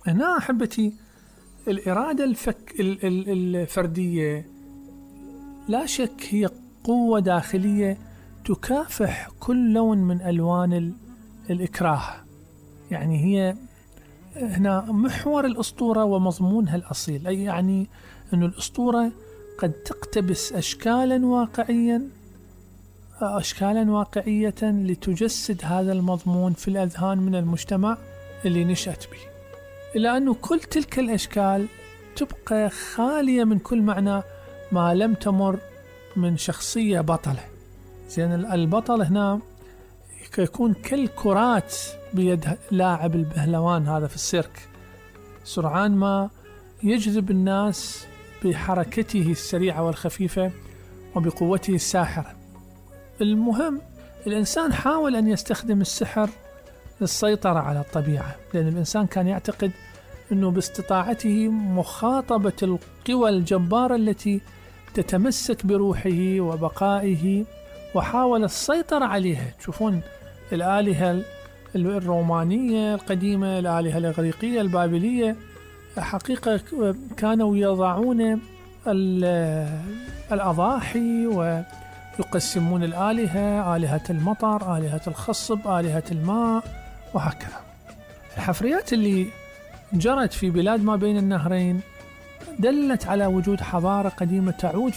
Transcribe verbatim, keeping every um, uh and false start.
هنا أحبتي الإرادة الفك ال- ال- الفردية لا شك هي قوة داخلية تكافح كل لون من ألوان ال- الإكراه. يعني هي هنا محور الأسطورة ومضمونها الأصيل، أي يعني أن الأسطورة قد تقتبس أشكالا واقعيا أشكالا واقعية لتجسد هذا المضمون في الأذهان من المجتمع اللي نشأت به، إلا أنه كل تلك الأشكال تبقى خالية من كل معنى ما لم تمر من شخصية بطلة. زين البطل هنا يكون كالكرات بيد لاعب البهلوان هذا في السيرك، سرعان ما يجذب الناس بحركته السريعة والخفيفة وبقوته الساحرة. المهم الإنسان حاول أن يستخدم السحر للسيطرة على الطبيعة، لأن الإنسان كان يعتقد أنه باستطاعته مخاطبة القوى الجبارة التي تتمسك بروحه وبقائه، وحاول السيطرة عليها. تشوفون الآلهة الرومانية القديمة، الآلهة الإغريقية البابلية، حقيقة كانوا يضعون الأضاحي ويقسمون الآلهة، آلهة المطر، آلهة الخصب، آلهة الماء، وهكذا. الحفريات اللي جرت في بلاد ما بين النهرين دلت على وجود حضارة قديمة تعود